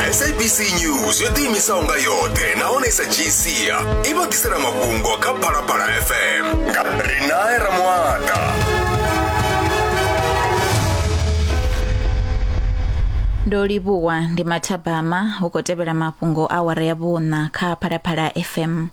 SABC News yo ḓiimisaho nga yoṱhe nahone sa dzhii sia i vha ḓisela mafhungo kha Phalaphala FM nga Rinae Ramuata. Ndo livhuwa ndi mathabama hu khou tevhela mafhungo awara ya vhuṋa kha Phalaphala FM.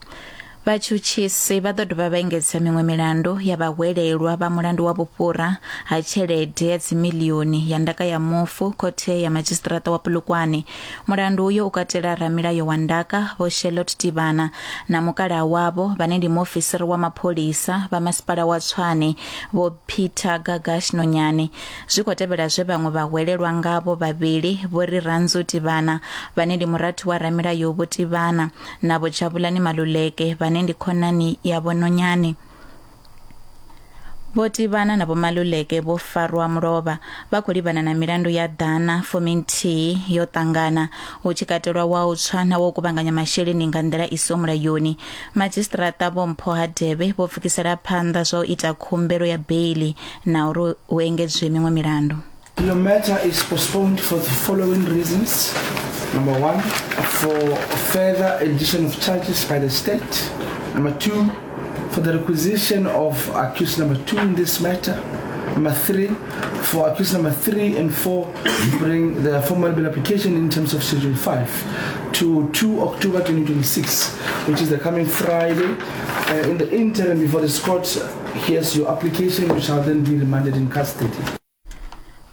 Vhatshutshisi vha ḓo dovha vha engedza miṅwe milandu ya vhahwelelwa vha mulandu wa vhufhura ha tshelede ya dzimiḽioni ya ndaka ya mufu khothe ya madzhisiṱiraṱa wa Polokwane. Mulandu uyo u katela ramilayo wa ndaka Vho Charlotte Tivhana na mukalaha wavho vhane ndi muofisiri wa mapholisa vha masipala wa Tshwane Vho Peter Gagash Nonyane. Zwi khou tevhela zwe vhaṅwe vhahwelelwa ngavho vhavhili Vho Rirhandzu Tivhana vhane ndi murathu wa ramilayo Vho Tivhana na Vho Jabulani Maluleke vhane ndi khonani ya Vho Nonyane. Vho Tivhana na Vho Maluleke vho farwa mulovha vha khou livhana na milandu ya ḓana fuminthihi yo ṱangana hu tshi katelwa wa u tswa na wa u kuvhanganya masheleni nga nḓila i siho mulayoni. Madzhisiṱiraṱa Vho Mpho Hadebe vho pfukisela phanḓa zwa u ita khumbelo ya beiḽi na uri hu engedzwe miṅwe milandu. Your matter is postponed for the following reasons. Number one, for further addition of charges by the state. Number two, for the requisition of accused number two in this matter. Number three, for accused number three and four to bring their formal bail application in terms of Schedule 5 to 2 October 2026, which is the coming Friday. In the interim, before this court hears your application, you shall then be remanded in custody.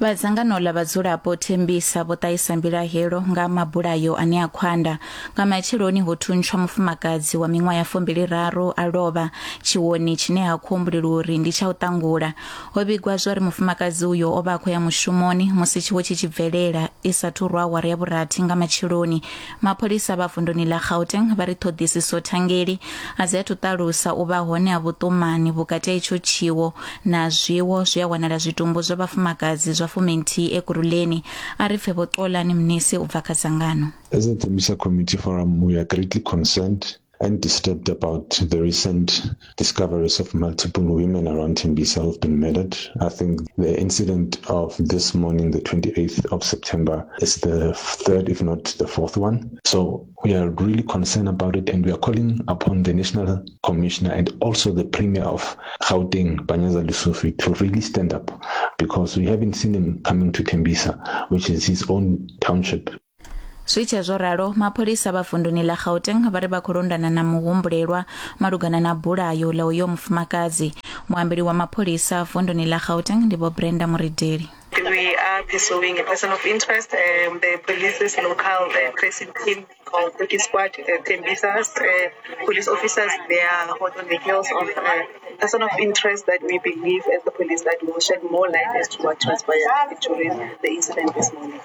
Vha dzangano ḽa vhadzulapo Thembisa vho ṱahisa mbilahelo nga mabulayo ane a khwanda. Nga matsheloni ho thuntshwa mufumakadzi wa miṅwaha ya fumbili raru a lovha tshiwoni tshine ha khou humbulelwa uri ndi tsha u ṱangula. Ho vhigwa zwa uri mufumakadzi uyo o vha a khou ya mushumoni musi tshiwo tshi tshi bvelela i sathu rwa awara ya vhurathi nga matsheloni. Mapholisa vha vunduni ḽa Gauteng vha ri ṱhoḓisiso thangeli a dzi athu ṱalusa u vha hone ha vhuṱumani vhukati ha itsho tshiwo na zwiwo zwe a wanala zwitumbu zwa vhafumakadzi zwa fuminthihi Ekurhuleni. A ri pfe Vho Xolani Mnisi u bva kha dzangano. As a Tembisa Community Forum, we are greatly concerned and disturbed about the recent discoveries of multiple women around Tembisa who've been murdered. I think the incident of this morning, the 28th of September, is the third, if not the fourth one. So we are really concerned about it, and we are calling upon the National Commissioner and also the Premier of Gauteng, Panyaza Lesufi, to really stand up, because we haven't seen him coming to Tembisa, which is his own township. Zwi tshe zwo ralo, mapholisa vha vunduni ḽa Gauteng vha ri vha khou londana na muhumbulelwa malugana na bulayo ḽa uyo mufumakadzi. Muambeli wa mapholisa vunduni ḽa Gauteng ndi Vho Brenda Murideli. We are pursuing a person of interest. The police's local tracing team called Turkey Squad, Tembisa's police officers, they are hot on the heels of a person of interest that we believe as the police that will shed more light as to what transpired during the incident this morning.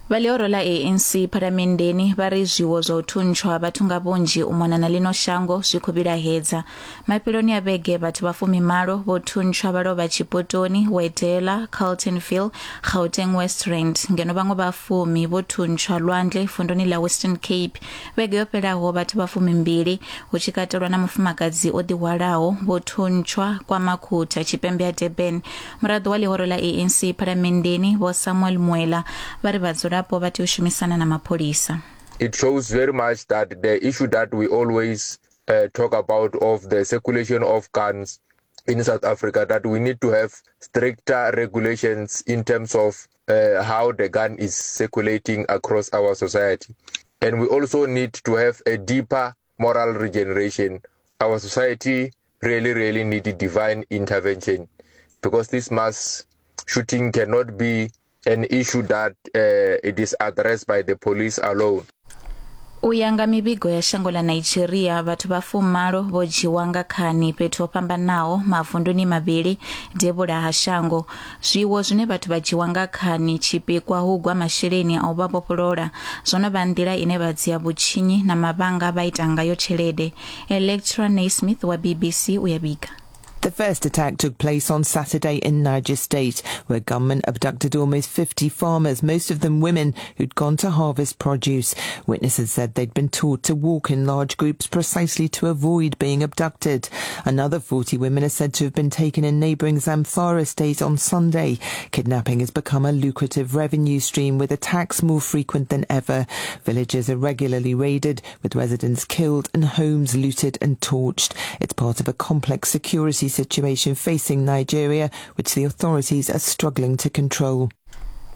Vha ḽihoro ḽa ANC Phalamenndeni vha ri zwiwo zwa u thuntshwa ha vhathu nga vhunzhi u mona na ḽino shango zwi khou vhilahedza. Mafheloni a vhege vhathu vha fumimalo vho thuntshwa vha lovha Tshipotoni, Wedela, Carltonville, Gauteng West Rand ngeno vhaṅwe vha fumi vho thuntshwa Lwandle vunduni ḽa Western Cape. Vhege yo fhelaho vhathu vha fumimbili hu tshi katelwa na mufumakadzi o ḓihwalaho vho thuntshwa kwa Makhutha tshipembe ha Durban. Muraḓo wa ḽihoro ḽa ANC Phalamenndeni Vho Samuel Muela vha ri vhadzulapo vha tea u shumisana na mapholisa. It shows very much that the issue that we always talk about of the circulation of guns in South Africa, that we need to have stricter regulations in terms of how the gun is circulating across our society. And we also need to have a deeper moral regeneration. Our society really, really needs divine intervention, because this mass shooting cannot be an issue that it is addressed by the police alone. U ya nga mivhigo ya shango ḽa Nigeria, vhathu vha fumalo vho dzhiwa nga khani fhethu ho fhambanaho mavunduni mavhili devhula ha shango. Zwiwo zwine vhathu vha dzhiwa nga khani tshipikwa hu gwa masheleni a u vha vhofholola zwo no vha nḓila ine vha dzhia vhutshinyi na mavhanga vha ita ngayo tshelede. Electra Naismith wa BBC u ya vhiga. The first attack took place on Saturday in Niger State, where gunmen abducted almost 50 farmers, most of them women who'd gone to harvest produce. Witnesses said they'd been taught to walk in large groups precisely to avoid being abducted. Another 40 women are said to have been taken in neighbouring Zamfara State on Sunday. Kidnapping has become a lucrative revenue stream, with attacks more frequent than ever. Villages are regularly raided, with residents killed and homes looted and torched. It's part of a complex security situation facing Nigeria, which the authorities are struggling to control.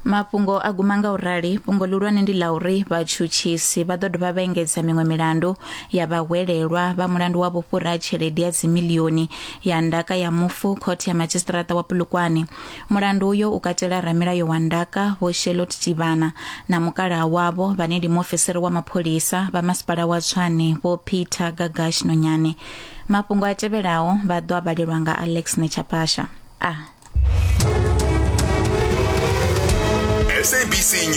Mafhungo a guma nga u rali. Fhungo ḽihulwane ndi ḽa uri vhatshutshisi vha ḓo dovha vha engedza miṅwe milandu ya vhahwelelwa vha mulandu wa vhufhura ha tshelede ya dzimilioni ya ndaka ya mufu khothe ya madzhisiṱiraṱa wa Polokwane. Mulandu uyo u katela ramilayo wa ndaka Vho Charlotte Tivhana na mukalaha wavho vhane ndi muofisiri wa mapholisa vha masipala wa Tshwane Vho Peter Gagash Nonyane. Mafhungo a tevhelaho vha ḓo a vhalelwa nga Alex Nechapasha. A. SABC News.